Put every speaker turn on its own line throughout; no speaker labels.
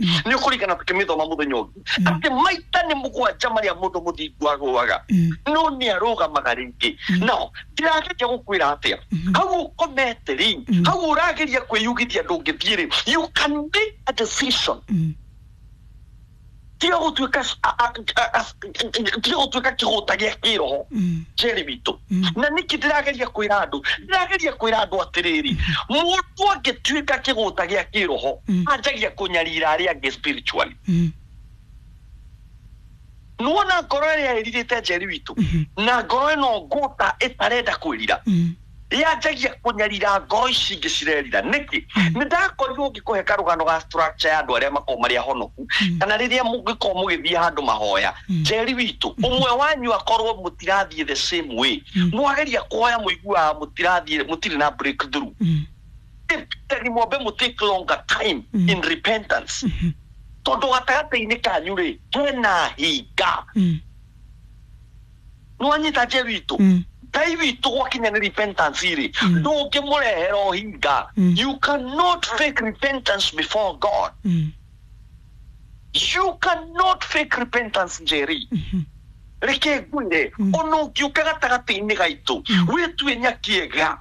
Nĩ ũkũringana tũkĩmĩthoma mũthenya ũngĩ atĩ maita nĩ 7 marĩa mũndũ mũthingu agũaga, no nĩ arũgamaga rĩngĩ. Now ndĩrageria gũkwĩra atĩa, hau ũkomete rĩ, hau ũrageria kwĩyugithia ndũngĩthiĩ rĩ, you can make a decision. Tiga gũtuĩka tiga gũtuĩka kĩgũta gĩa kĩroho, Jerry witũ. Na nĩkĩ ndĩrageria kwĩra andũ? Ndĩrageria kwĩra andũ atĩrĩrĩ, mũndũ angĩtuĩka kĩgũta gĩa kĩroho, anjagia kũnyarira arĩa angĩ spiritually. Nĩwona ngoro ĩrĩa ĩrirĩte, Jerry witũ, na ngoro ĩno ngũta ĩtarenda kwĩrira, yanjagia kũnyarira ngoro ici ingĩ cirerira. Nĩkĩ? Nĩ ndakorirwo ngĩkũhe karũgano ga structure ya andũ arĩa makoragwo marĩ ahonoku, kana rĩrĩa mũngĩkorwo mũgĩthiĩ handũ mahoya, Jerry witũ, ũmwe wanyu akorwo mũtirathiĩ the same way, mwageria kuhoya mũiguaga mũtirathiĩ, mũtirĩ na breakthrough, mwambe mũ take longer time in repentance, tondũ gatagatĩ-inĩ kanyu rĩ hena hinga. Nĩwanyita, Jerry witũ? Ngai witũ gwakinya nĩ repentance rĩ, ndũngĩmũrehera ũhinga. You cannot fake repentance before God. You cannot fake repentance, Jerry. Reke ngwĩre, ona ũngĩũka gatagatĩ-inĩ gaitũ wĩtue nyakiega,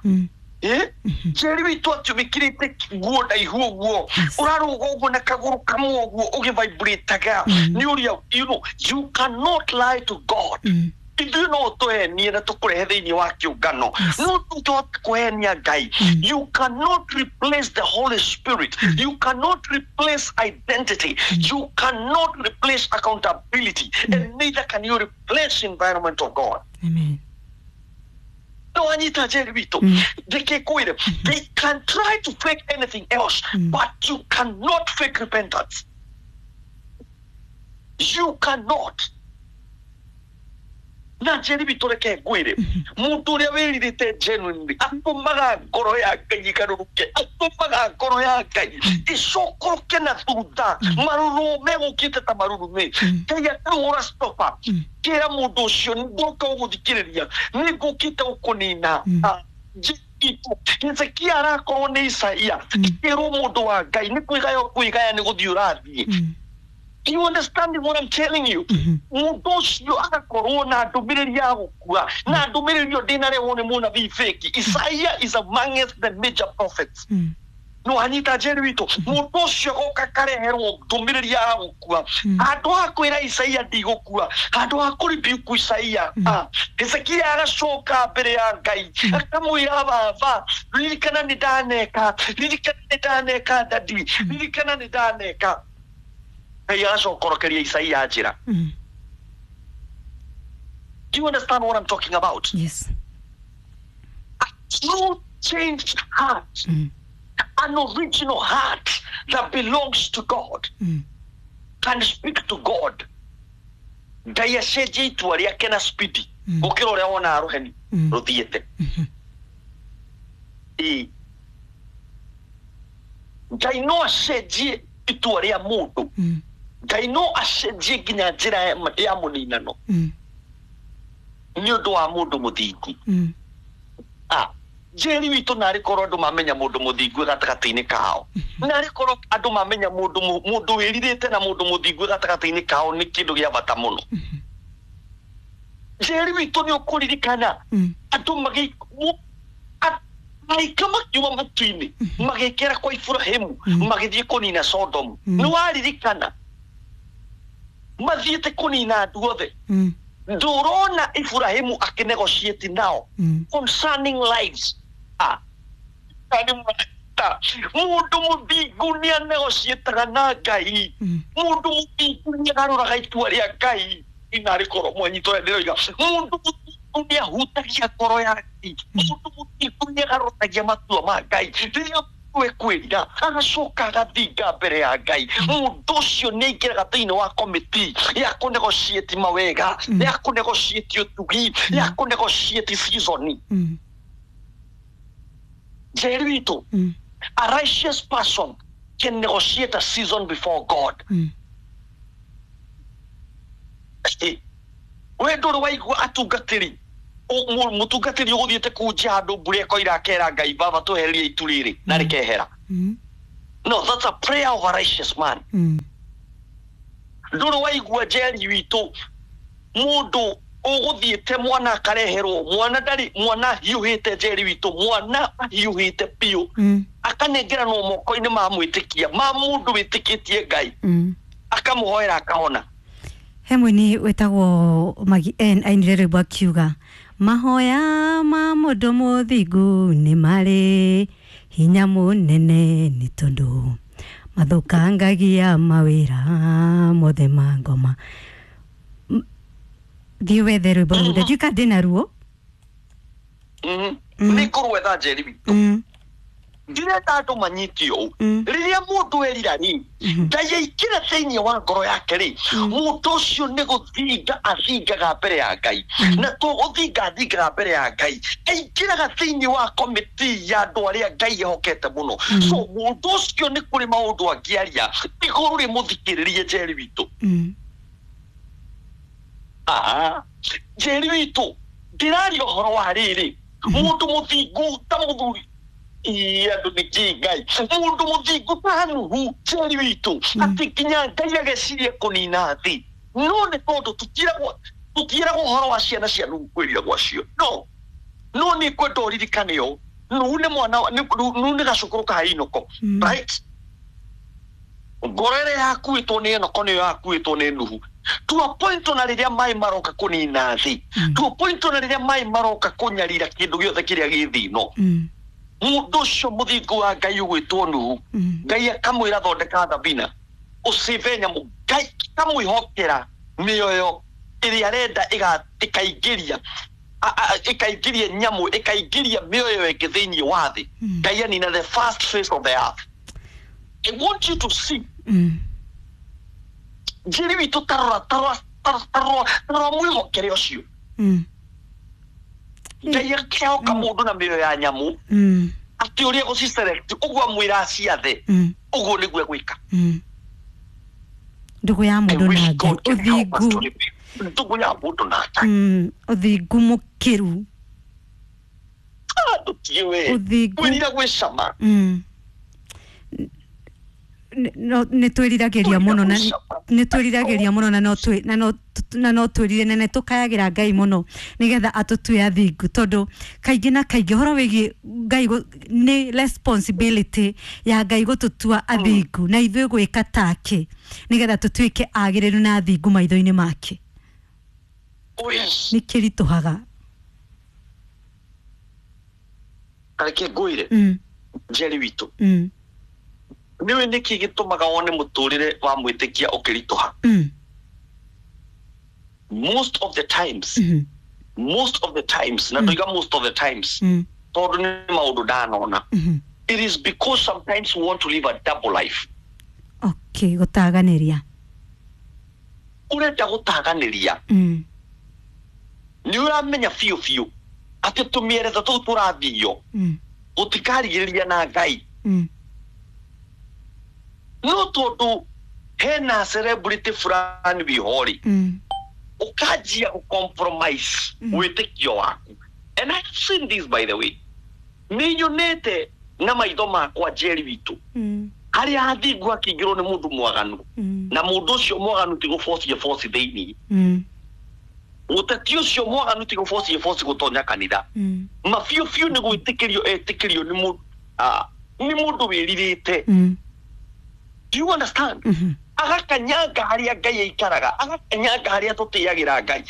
Jerry witũ, atĩ wĩkĩrĩte nguo ndaihu ũguo, ũrarũga ũguo na kagũrũ kamwe ũguo ũgĩvibrataga nĩ ũrĩa, you cannot lie to God. Ithuĩ no tũhenie na tũkũrehe thĩinĩ wa kĩũngano, no tũngĩhota kũhenia Ngai? You cannot replace the Holy Spirit. You cannot replace identity. You cannot replace accountability, and neither can you replace environment of God.
Amen.
No anyita, Jerry witũ? Reke kwĩre, they can try to fake anything else, but you cannot fake repentance. You cannot. Na Jerry witũ, reke ngwĩre, mũndũ ũrĩa wĩrirĩte genuinely atũmaga ngoro ya Ngai ĩgarũrũke, atũmaga ngoro ya Ngai ĩcokoroke na thutha, marũrũ megũkĩte ta marurumĩ. Ngai akahũra stopa kĩra mũndũ ũcio, ndoka ũgũthikĩrĩria, nĩ ngũkĩte gũkũnina. Hezekia arakorwo nĩ Isaia kĩrwo mũndũ wa Ngai nĩ kwĩgaya kwĩgaya, nĩ gũthiĩ ũrathiĩ. You understand what I'm telling you? Mũndũ ũcio agakorwo na ndũmĩrĩri ya gũkua, na ndũmĩrĩri ĩyo ndĩnarehwo nĩ mũnabii fake. Isaiah is amongst the major prophets. No anyita, Jerry witũ? Mũndũ ũcio agoka kareherwo ndũmĩrĩri ya gũkua. Handũ ha kwĩra Isaia ndigũkua, handũ ha kũribiuku Isaia, Hezekia agacoka mbere ya Ngai akamwĩra, "Baba, ririkana nĩ ndaneka, ririkana nĩ ndaneka, daddy, ririkana nĩ ndaneka." Ngai agacokorokeria Isaia njĩra. Do you understand what I'm talking about?
Yes.
A true changed heart, an original heart that belongs to God, can speak to God. Ngai acenjie itua rĩake na spidi gũkĩra ũrĩa wonaga rũheni rũthiĩte. Ĩĩ. Ngai no acenjie itua rĩa mũndũ. Ngai no acenjie nginya njĩra ya mũninano nĩ ũndũ wa mũndũ mũthingu. Jerry witũ, narĩ korwo andũ mamenya mũndũ mũthingu gatagatĩ-inĩ kao, narĩ korwo andũ mamenya mũndũ mũndũ wĩrirĩte na mũndũ mũthingu gatagatĩ-inĩ kao nĩ kĩndũ gĩa bata mũno. Jerry witũ, nĩ ũkũririkana andũ araika makiuma matu-inĩ magĩkĩra kwa Iburahĩmu magĩthiĩ kũnina Sodomu? Nĩ waririkana mathiĩte kũnina andũ othe? Ndũrona Iburahĩmu akĩnegotiate nao concerning lives? Nĩ mũrata. Mũndũ mũthingu nĩ anegotiataga na Ngai. Mũndũ mũthingu nĩ agarũraga itua rĩa Ngai. Inarĩ korwo mwanyitwo ũrĩa ndĩroiga, mũndũ mũthingu nĩ ahutagia ngoro ya Ngai. Mũndũ mũthingu nĩ agarũragia matua ma Ngai. Rĩrĩa mũndũ ekwĩrira agacoka agathinga mbere ya Ngai, mũndũ ũcio nĩ aingĩraga thĩinĩ wa komiti ya kũnegotiate mawega, ya kũnegotiate ũtugi, ya kũnegotiate season. Jerry witũ, a righteous person can negotiate a season before God. We ndũrĩ waigua atungatĩri, mũtungatĩri ũgũthiĩte kunja handũ mbura ĩkoira akera Ngai, "Baba, tũhererie itu rĩrĩ," na rĩkehera? No, that's a prayer of a righteous man. Ndũrĩ waigua Njeri witũ mũndũ ũgũthiĩte mwana akareherwo mwana ndarĩ mwana hiũhĩte Njeri witũ mwana ahiũhĩte biũ akanengeranwo moko-inĩ ma mwĩtĩkia ma mũndũ wĩtĩkĩtie Ngai akamũhoera akahona.
He mũini wĩtagwo Magi N ainire rwĩmbo akiuga mahoya ma mũndũ mũthingu nĩ marĩ hinya mũnene nĩ tondũ mathũkangagia mawĩra mothe ma ngoma. Thiĩ wethe rwĩmbo rũu ndiũĩ kana ndĩna ruo.
Nĩ ngũrwetha Njeri witũ. Ndirenda andũ manyite ũũ. Rĩrĩa mũndũ erira rĩ, Ngai aingĩra thĩinĩ wa ngoro yake rĩ, mũndũ ũcio nĩ gũthinga athingaga mbere ya Ngai. Na to gũthinga athingaga mbere ya Ngai, aingĩraga thĩinĩ wa komiti ya andũ arĩa Ngai ehokete mũno. So mũndũ ũcio nĩ kũrĩ maũndũ angĩaria igũrũ rĩmũthikĩrĩrie Njeri witũ. Njeri witũ ndĩraria ũhoro wa rĩrĩ mũndũ mũthingu ta mũthuri andũ nĩ kĩ Ngai mũndũ mũthingu ta Nuhu Njeri witũ atĩ nginya Ngai ageciria kũnina thĩ no nĩ tondũ tũtiĩragwo ũhoro wa ciana cia Nuhu kwĩrira gwacio no no nĩ kwenda ũririkane ũũ Nuhu nĩ mwana Nuhu nĩ gacũkũrũ ka Enoko right ngoro ĩrĩa yakuĩtwo nĩ Enoko nĩyo yakuĩtwo nĩ Nuhu to a point ona rĩrĩa maĩ maroka kũnina thĩ to a point ona rĩrĩa maĩ maroka kũnyarira kĩndũ gĩothe kĩrĩa gĩ thĩ ĩno mũndũ ũcio mũthingu wa Ngai ũgwĩtwo Nuhu Ngai akamwĩra thondeka thabina ũcive nyamũ Ngai akamwĩhokera mĩoyo ĩrĩa arenda ĩkaingĩria ĩkaingĩria nyamũ ĩkaingĩria mĩoyo ĩngĩ thĩinĩ wa thĩ Ngai anina the first face of the earth. I want you to see Njeri witũ tarora tarora tarora tarora mwĩhokere ũcio Ngai akehoka mũndũ na mĩoyo ya nyamũ atĩ ũrĩa gũciselect ũguo amwĩra aciathe ũguo nĩguo egwĩka.
Ndũgũ ya mũndũ na Ngai ũthingu
ndũgũ ya mũndũ na Ngai
ũthingu mũkĩru
ndũtige we kwĩrira gwĩcama
nĩ twĩriragĩria mũno na nĩ twĩriragĩria mũno na no twĩrire na nĩ tũkayagĩra Ngai mũno nĩgetha atũtue athingu tondũ kaingĩ na kaingĩ ũhoro wĩgiĩ Ngai nĩ responsibility ya Ngai gũtũtua athingu na ithuĩ gwĩka take nĩgetha tũtuĩke agĩrĩru na athingu maitho-inĩ make. Nĩ kĩritũhaga.
Kareke ngwĩre Njeri witũ nĩũĩ nĩkĩ gĩtũmaga wone mũtũrĩre wa mwĩtĩkia ũkĩritũha? Most of the times most of the times na ndoiga most of the times tondũ nĩ maũndũ ndanona it is because sometimes we want to live a double life.
Okay, gũtaganĩria
ũrenda gũtaganĩria nĩ ũramenya biũ biũ atĩ tũmĩeretha tũu tũrathio gũtikarigĩrĩria na Ngai no tondũ hena celebrity fulani wĩho rĩ ũkanjia gũ-compromise wĩtĩkio waku. And I have seen this, by the way. Nĩ nyonete na maitho makwa Njeri witũ harĩa athingu akĩingĩrwo nĩ mũndũ mwaganu na mũndũ ũcio mwaganu ti gũbocie boci thĩinĩ mũteti ũcio mwaganu ti gũbocie boci gũtonya kanitha ma biũ biũ nĩ gwĩtĩkĩrio etĩkĩrio nĩ mũndũ wĩrirĩte. Do you understand? Agakanyanga harĩa Ngai aikaraga, agakanyanga harĩa tũtĩagĩra Ngai,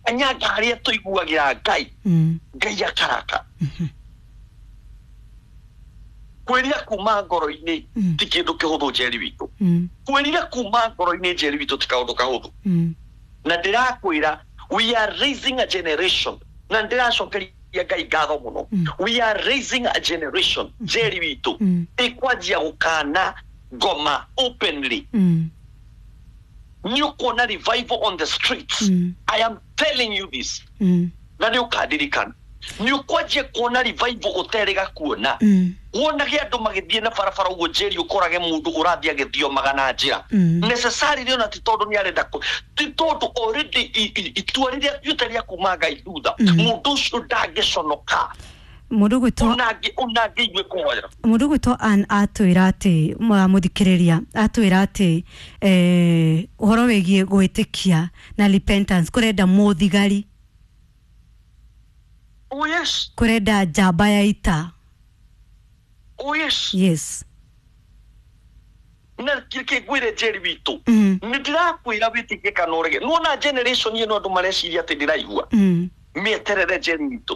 agakanyanga harĩa tũiguagĩra Ngai, Ngai akaraka. Kwĩrira kuma ngoro-inĩ ti kĩndũ kĩhũthũ Njeri witũ. Kwĩrira kuma ngoro-inĩ Njeri witũ ti kaũndũ kahũthũ. Na ndĩrakwĩra we are raising a generation na ndĩracokeria Ngai ngatho mũno. We are raising a generation Njeri witũ ĩkwanjia gũkana ngoma openly. Nĩ ũkuona revival on the streets. I am telling you this. Na nĩ ũkandirikana nĩ ũkwanjia kuona revival ũterĩga kuona. Wonage andũ magĩthiĩ na barabara ũguo Njeri ũkorage mũndũ ũrathiĩ agĩthiomaga na njĩra necessarily ona ti tondũ nĩ arenda ti tondũ already itua rĩrĩa atuĩte rĩa kuma Ngai thutha mũndũ ũcio ndangĩconoka.
Mũndũ gwĩtwo
Ona ngĩigue kũhoya.
Mũndũ gwĩtwo Ann atwĩra atĩ mũthikĩrĩria atwĩra atĩ ũhoro wĩgiĩ gwĩtĩkia na repentance kũrenda mũthigari.
Oh yes.
Kũrenda njamba ya ita.
Oh yes.
Yes.
Na kĩrĩkĩ ngwĩre Njeri witũ, nĩ ndĩrakwĩra wĩtĩkie kana ũrege. Nĩwona generation ĩno andũ mareciria atĩ ndĩraigua. Mĩeterere Njeri witũ.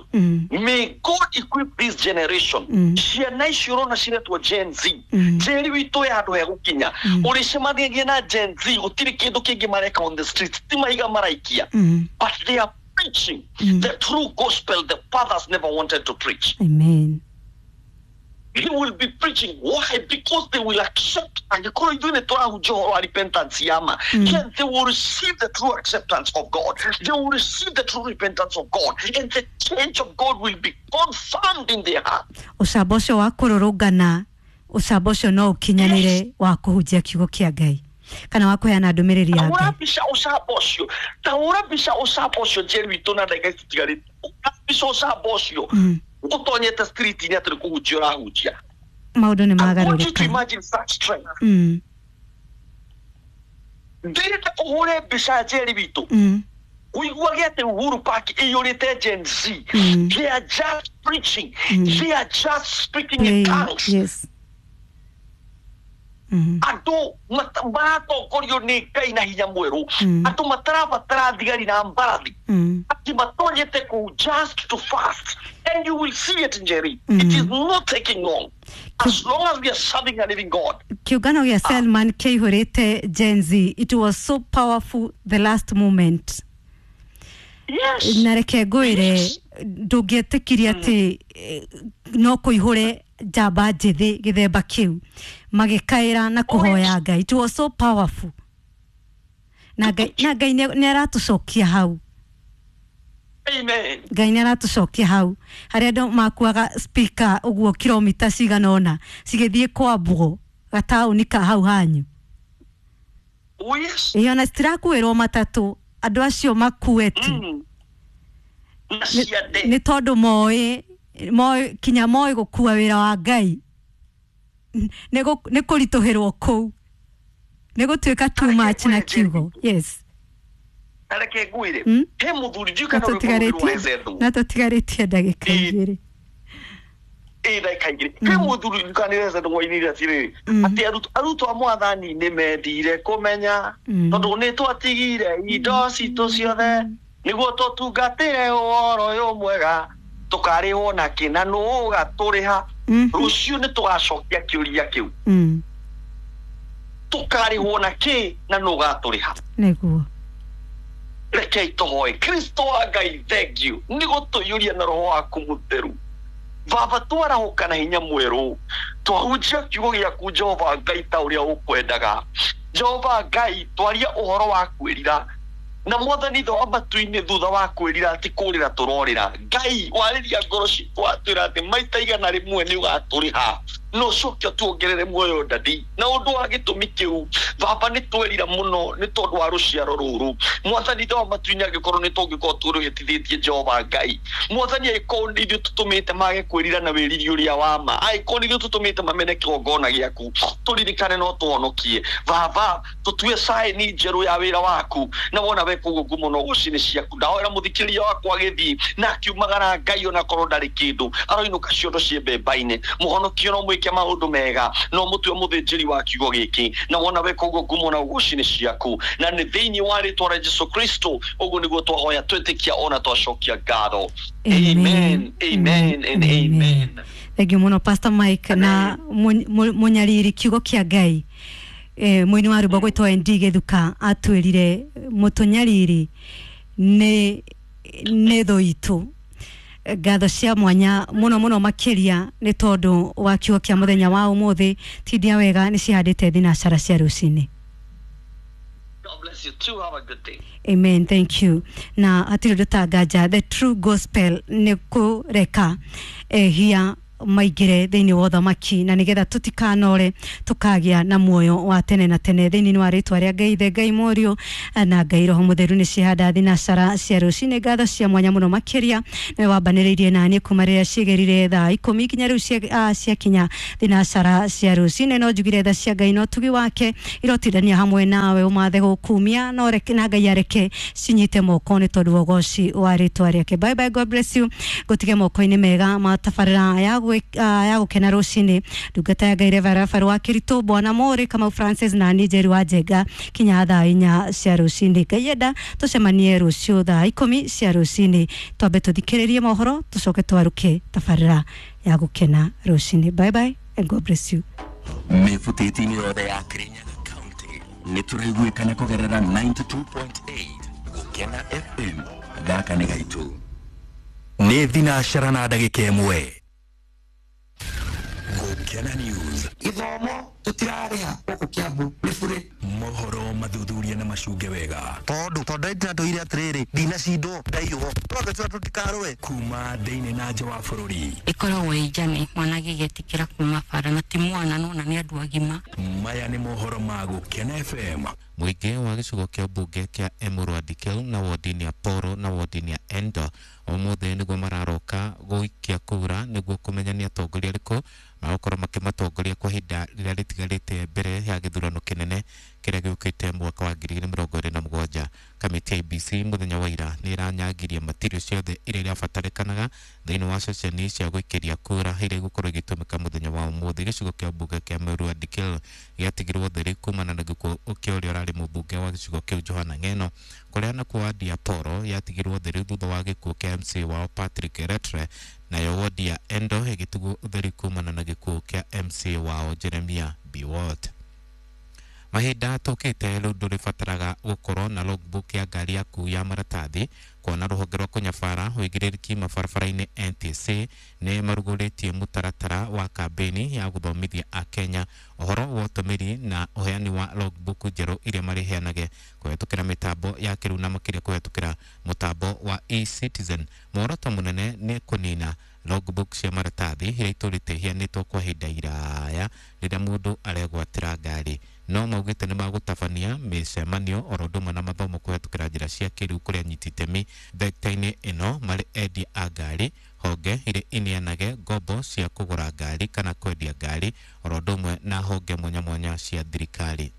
May God equip this generation. Ciana icio ũrona ciretwo Gen Z. Njeri witũ ya handũ hegũkinya. Ũrĩcemanagia na Gen Z gũtirĩ kĩndũ kĩngĩ mareka on the street. Ti mahiga maraikia. But they are preaching the true gospel the fathers never wanted to preach.
Amen.
He will be preaching. Why? Because they will accept angĩkorwo ithuĩ nĩ tũrahunjia ũhoro wa repentance ya ma, then they will receive the true acceptance of God. They will receive the true repentance of God, and the change of God will be confirmed in their heart.
Ũcamba ũcio wa kũrũrũngana, ũcamba ũcio no ũkinyanĩre wa kũhunjia kiugo kĩa Ngai kana wa kũheana ndũmĩrĩri ya
Tahũra
Ngai.
mbica ũcamba ũcio, tahũra mbica ũcamba ũcio Njeri witũ na ndagĩka ici itigarĩte. Hũra mbica ũcamba ũcio ũtonyete street-inĩ atĩ nĩ kũhunjia ũrahunjia.
Maũndũ nĩ
I want you to
magarũrũka.
imagine such strength. Ndĩrenda ũhũre mbica Njeri witũ, ũiguage atĩ Uhuru Park ĩiyũrĩte Gen Z. They are just preaching. They are just speaking in tongues.
Yes.
Andũ maratongorio nĩ Ngai na hinya mwerũ. Andũ matarabatara thigari na mbarathi. Atĩ matonyete kũu just to fast, and you will see it, Njeri. It is not taking long, as long as we are serving a living God.
Kĩũngano gĩa Selman kĩihũrĩte Gen Z. It was so powerful, the last moment.
Yes.
Na reke ngwĩre,
Yes.
ndũngĩetĩkirie atĩ no kũihũre njamba njĩthĩ gĩthemba kĩu magĩkaĩra na kũhoya Ngai. It was so powerful. Na Ngai nĩ aratũcokia hau.
Amen.
Ngai nĩ aratũcokia hau harĩa andũ makuaga speaker ũguo kilomita cigana ũna cigĩthiĩ kwambwo gataũni ka hau hanyu.
Oh yes.
Ĩĩ, ona citirakuĩrwo matatũ, andũ acio makue tu.
Na ciande.
Nĩ tondũ moĩ kinya moĩ gũkua wĩra wa Ngai nĩ kũritũhĩrwo kũu, nĩ gũtuĩka too much na kiugo. Yes.
Na reke ngwĩre, he mũthuri ndiũĩ kana rwĩmbo rũrũ rwa Ezethu.
Na tũtigarĩtie ndagĩka igĩrĩ.
Ĩ ndagĩka igĩrĩ. He mũthuri ndiũĩ kana nĩ Ezethu wainire atĩrĩrĩ, atĩ arutwo a mwathani nĩ mendire kũmenya, tondũ nĩ twatigire indo citũ ciothe nĩguo tũtungatĩre ũhoro ũyũ mwega, tũkarĩhwo na kĩ na nũ ũgatũrĩha. Rũciũ nĩ tũgacokia kĩũria kĩu. Tũkarĩhwo na kĩ na nũ ũgatũrĩha.
Nĩguo.
Rekei tũhoe. Kristo wa Ngai, thank you nĩ gũtũiyũria na roho waku mũtheru. Baba, twarahũka na hinya mwerũ, twahunjia kiugo gĩaku Jehova Ngai ta ũrĩa ũkwendaga. Jehova Ngai, twaria ũhoro wa kwĩrira na mwathani tho wa matu-inĩ, thutha wa kwĩrira ti kũrĩra tũrorĩra. Ngai, warĩria ngoro citũ watwĩra atĩ maita 100 nĩ ũgatũrĩha, no ũcoke ũtuongerere muoyo ndadi. Na ũndũ wa gĩtũmi kĩu Baba, nĩ twerira mũno nĩ tondũ wa rũciaro rũrũ. Mwathani tho wa matu-inĩ, angĩkorwo nĩ tũngĩkorwo tũrũhĩtithĩtie Jehova Ngai, mwathani, angĩkorwo nĩ ithuĩ tũtũmĩte mage kwĩrira na wĩriri ũrĩa wa ma, angĩkorwo nĩ ithuĩ tũtũmĩte mamene kĩgongona gĩaku, tũririkane no tũhonokie. Baba, tũtue saini njerũ ya wĩra waku, na wona weka ũguo ngumo no ũcinĩ ciaku. Ndahoera mũthikĩrĩria wakwa agĩthiĩ na akiumagara Ngai, onakorwo ndarĩ kĩndũ aroinũka ciondo ciĩ mbemba-inĩ. Mũhonokio no mwĩke maũndũ mega, no mũtue mũthĩnjĩri wa kiugo gĩkĩ, na wona weka ũguo ngumo na ũgocini ciaku, na nĩ thĩinĩ wa rĩtwa rĩa Jesu Kristo ũguo nĩguo twahoya twĩtĩkia ona twacokia ngatho. Amen, amen and amen.
Thank you mũno Pastor Mike na mũnyariri kiugo kĩa Ngai. Mũini wa rwĩmbo gwĩtwo ND Gĩthuka atwĩrire mũtũnyariri nĩ thũ itũ. Ngatho cia mwanya mũno mũno makĩria nĩ tondũ wa kiugo kĩa mũthenya wa ũmũthĩ. Tindia wega nĩ cihandĩte thinacara cia rũcinĩ.
God bless you too. Have a good day.
Amen. Thank you. Na hatirĩ ũndũ ta nganja, the true gospel nĩ kũreka ehia maingĩre thĩinĩ wa ũthamaki na nĩgetha tũtikanore tũkagĩa na muoyo wa tene na tene thĩinĩ wa rĩtwa rĩa Ngai Ithe, Ngai Mũriũ na Ngai Roho Mũtheru. Nĩ cihanda thinacara cia rũcinĩ, ngatho cia mwanya mũno makĩria nĩwe wambanĩrĩirie naniĩ kuma rĩrĩa ciĩgerire thaa 10 nginya rĩu ciakinya thinacara cia rũcinĩ. No njugire tha cia Ngai na ũtugi wake irotindania hamwe nawe ũmathe gũkumia na ũreke na Ngai areke cinyite moko nĩ tondũ wa ũgoci wa rĩtwa rĩake. Bye bye, God bless you. Ngũtige moko-inĩ mega ma tabarĩra ya gũkena rũcinĩ. Ndungata ya Ngai Reverend Rafael wa Kĩritũ, Bwana Mũrĩ Kamau Francis na niĩ Njeri wa Njenga kinya thaa 4 cia rũcinĩ. Ngai enda tũcemanie rũciũ thaa 10 cia rũcinĩ, twambe tũthikĩrĩrie mohoro tũcoke twarũke tabarĩra ya gũkena rũcinĩ. Bye bye and God bless you.
Mĩbutĩti-inĩ yothe ya Kirinyaga County nĩ tũraiguĩkana kũgerera 92.8 Gũkena FM. Gaka nĩ gaitũ. Nĩ thinacara na ndagĩka 1. Gũkena News.
Gĩthomo tũtirarĩha gũkũ Kiambu nĩ bure.
Mohoro mathuthuria na macunge wega.
Tondũ ndĩratũire atĩrĩrĩ, ndinacindwo ndaiywo. Twambe tũtikarũe.
Kuma thĩinĩ na nja wa bũrũri.
Ĩkoragwo ĩ njane mwana agĩgĩtĩkĩra kuma bara na ti mwana nona nĩ andũ agima.
Maya nĩ mohoro ma Gũkena FM.
Mũingĩ wa gĩcigo kĩa mbunge kĩa Emurua Dikirr na wodi-inĩ ya Poro na wodi-inĩ ya Endo ũmũthĩ nĩguo mararoka gũikia kura nĩguo kũmenya nĩ atongoria arĩkũ magũkorwo makĩmatongoria kwa ihinda rĩrĩa rĩtigarĩte mbere ya gĩthurano kĩnene kĩrĩa gĩũkĩte mwaka wa 2027. Kamĩtĩ ya IEBC mũthenya wa ira nĩ ĩranyangirie matirio ciothe iria irabatarĩkanaga thĩinĩ wa ceceni cia gũikĩria kura iria igũkorwo igĩtũmĩka mũthenya wa ũmũthĩ. Gĩcigo kĩa mbunge kĩa Emurua Dikirr gĩatigirwo theri kumana na gĩkuũ kĩa ũrĩa ũrarĩ mũmbunge wa gĩcigo kĩu Johana Ng'eno, kũrĩa nakuo wadi ya Poro yatigirwo theri thutha wa gĩkuũ kĩa MC wao Patrick Retre, nayo wodi ya Endo ĩgĩtigwo ũtheri kumana na gĩkuũ kĩa MC wao Jeremia Biwott. Mahinda tũkĩte rĩu ndũrĩbataraga gũkorwo na logbook ya ngari yaku ya maratathi kuona rũhonge rwa kũnyabara ũigĩrĩrĩki mabarabara-inĩ NTSA nĩ marugũrĩtie mũtaratara wa kambĩini ya gũthomithia akenya ũhoro wa ũtũmĩri na ũheani wa logbook njerũ iria marĩheanage kũhetũkĩra mĩtambo ya kĩrĩu na makĩria kũhetũkĩra mũtambo wa eCitizen. Muoroto mũnene nĩ kũnina logbook cia maratathi iria itũrĩte iheanĩtwo kwa ihinda iraya rĩrĩa mũndũ aregwatĩra ngari. No maugĩte nĩ magũtabania mĩcemanio oro ũndũ ũmwe na mathomo kũhetũkĩra njĩra cia kĩrĩu kũrĩ anyiti itemi thekta-inĩ ĩno marĩ endia a ngari, honge iria ineanage ngombo cia kũgũra ngari kana kwendia ngari oro ũndũ ũmwe na honge mwanya mwanya cia thirikari.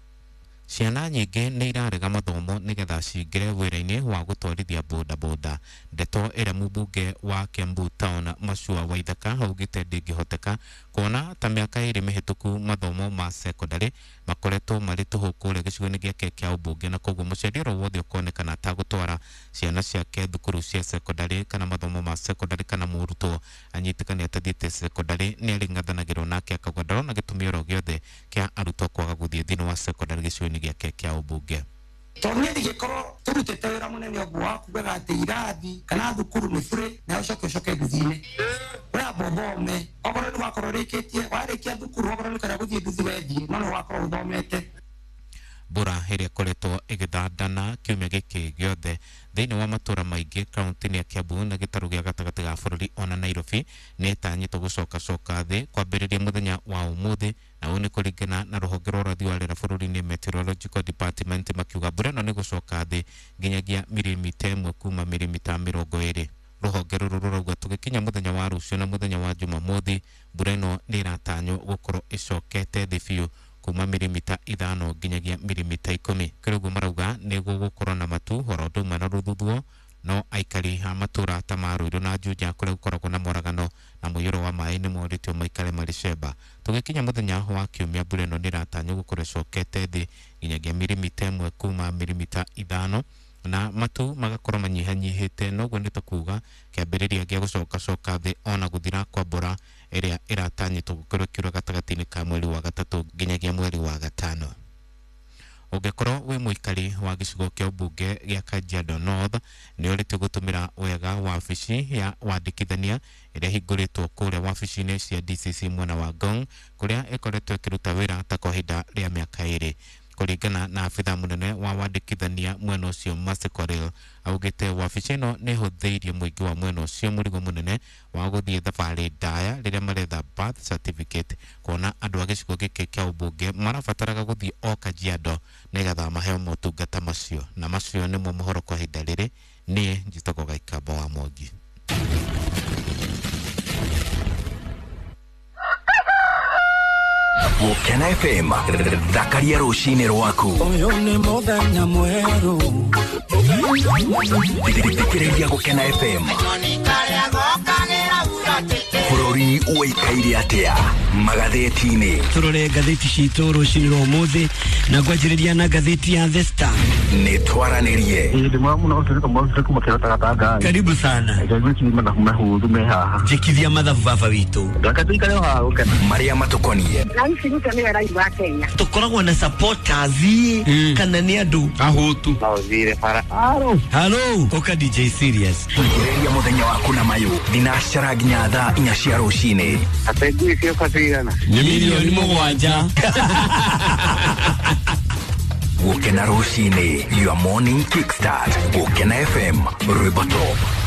Ciana nyingĩ nĩ irarega mathomo nĩgetha cingĩre wĩra-inĩ wa gũtwarithia bodaboda. Ndeto ĩrĩa mũmbunge wa Kiambu Town Machua Waithaka augĩte ndĩngĩhoteka kuona ta mĩaka 2 mĩhĩtũku mathomo ma secondary makoretwo marĩ tũhũ kũrĩa gĩcigo-inĩ gĩake kĩa ũmbunge, na koguo mũciari oro wothe ũkonekana atagũtwara ciana ciake thukuru cia secondary kana mathomo ma secondary kana mũrutwo anyitĩkane atathiĩte secondary nĩ arĩng'athanagĩrwo nake akauga ndarona gĩtũmi oro gĩothe kĩa arutwo kwaga gũthiĩ thĩinĩ wa secondary gĩcigo-inĩ gĩake kĩa ũmbunge.
Tondũ niĩ ndingĩkorwo tũrutĩte wĩra mũnene ũguo wa kugaga atĩ irathi kana thukuru nĩ bure na ũcoke ũcoke nduthi-inĩ. Ũramba ũthome, okorwo nĩ wakorwo ũrĩkĩtie, warĩkia thukuru okorwo nĩ ũkwenda gũthiĩ nduthi wethiĩ, no nĩ wakorwo ũthomete.
Mbura ĩrĩa ĩkoretwo ĩgĩthandana kiumia gĩkĩ gĩothe thĩinĩ wa matũra maingĩ kaunti-inĩ ya Kiambu na gĩtarũ gĩa gatagatĩ ga bũrũri ona Nairobi nĩ ĩtanyĩtwo gũcokacoka thĩ kwambĩrĩria mũthenya wa ũmũthĩ, na ũũ nĩ kũringana na rũhonge rwa ũrathi wa rĩera bũrũri-inĩ Meteorological Department makiuga mbura ĩno nĩ gũcoka thĩ nginyagia mirimita 1 kuma mirimita 20. Rũhonge rũrũ rũrauga tũgĩkinya mũthenya wa rũciũ na mũthenya wa Jumamothi mbura ĩno nĩ ĩratanywo gũkorwo ĩcokete thĩ biũ kuma mirimita 5 nginyagia mirimita 10. Kĩrĩ ũguo marauga nĩ gũgũkorwo na matu oro ũndũ ũmwe na rũthuthuo, no aikari a matũra ta ma Ruiru na Juja kũrĩa gũkoragwo na moragano na mũiyũro wa maĩ nĩ morĩtio maikare marĩ cemba. Tũgĩkinya mũthenya wa kiumia mbura ĩno nĩ ĩratanywo gũkorwo ĩcokete thĩ nginyagia mirimita 1 kuma mirimita 5 na matu magakorwo manyihanyihĩte, noguo nĩ ta kuga kĩambĩrĩria gĩa gũcokacoka thĩ ona gũthira kwa mbura ĩrĩa ĩratanyĩtwo gũkorwo ĩkiura gatagatĩ-inĩ ka mweri wa gatatũ nginyagia mweri wa gatano. Ũngĩkorwo wĩ mũikari wa gĩcigo kĩa ũmbunge gĩa Kajiado North nĩ ũrĩtio gũtũmĩra wega wabici ya wandĩkithania ĩrĩa ĩhingũrĩtwo kũrĩa wabici-inĩ cia DCC mwena wa Ngong kũrĩa ĩkoretwo ĩkĩruta wĩra ta kwa ihinda rĩa mĩaka 2. Kũringana na abitha mũnene wa wandĩkithania mwena ũcio Mercy Korir, augĩte wabici ĩno nĩ ĩhũthĩirie mũingĩ wa mwena ũcio mũrigo mũnene wa gũthiĩ thabarĩ ndaya rĩrĩa maretha birth certificate, kuona andũ a gĩcigo gĩkĩ kĩa ũmbunge marabataraga gũthiĩ o Kajiado nĩgetha maheo motungata macio. Na macio nĩmo mohoro kwa ihinda rĩrĩ. Niĩ njĩtagwo Gaikamba wa Mwangi.
Gũkena FM, thakaria rũcinĩ rwaku.
Ũyũ nĩ mũthenya mwerũ.
Thikĩrĩria Gũkena FM. Bũrũri ũikaire atĩa magathĩti-inĩ?
Tũrore ngathĩti citũ rũcinĩ rwa ũmũthĩ na ngwanjĩrĩria na ngathĩti ya The Star.
Nĩ twaranĩrie.
Karibu sana. Njĩkithia mathabu baba witũ.
Marĩa matũkoniĩ.
Tũkoragwo na supporters kana nĩ andũ
Ahũtu.
Halo, ũka DJ Serious.
Thikĩrĩria mũthenya waku na mayũ thinacara nginya thaa 4 cia rũcinĩ.
Nĩ milioni 7.
Gũkena rũcinĩ, your morning kickstart. Gũkena FM, rwĩmbo top.